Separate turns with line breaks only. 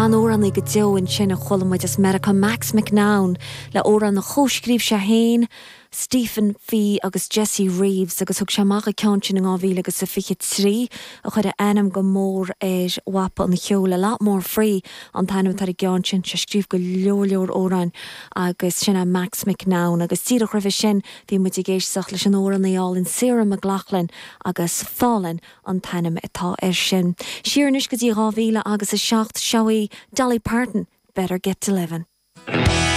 An-amhránaí go deo ansin a chuala muid as Meiriceá, Max McNown, le amhrán a chomhscríobh sé féin, Stephen Fee agus Jesse Reeves agus thug sé amach an ceann sin in 2023 a chuir a ainm go mór ar mhapa an cheoil. A Lot More Free an t-ainm atá ar an gceann sin. Sé scríobh go leor leor amhráin agus sin é Max McNown agus díreach roimhe sin bhí muid ag éisteacht leis an amhránaí álainn Sarah McLachlan agus Fallin' an t-ainm atá air sin. Siar anois go dtí 2007, seo í Dolly Parton, Better Get to Livin'.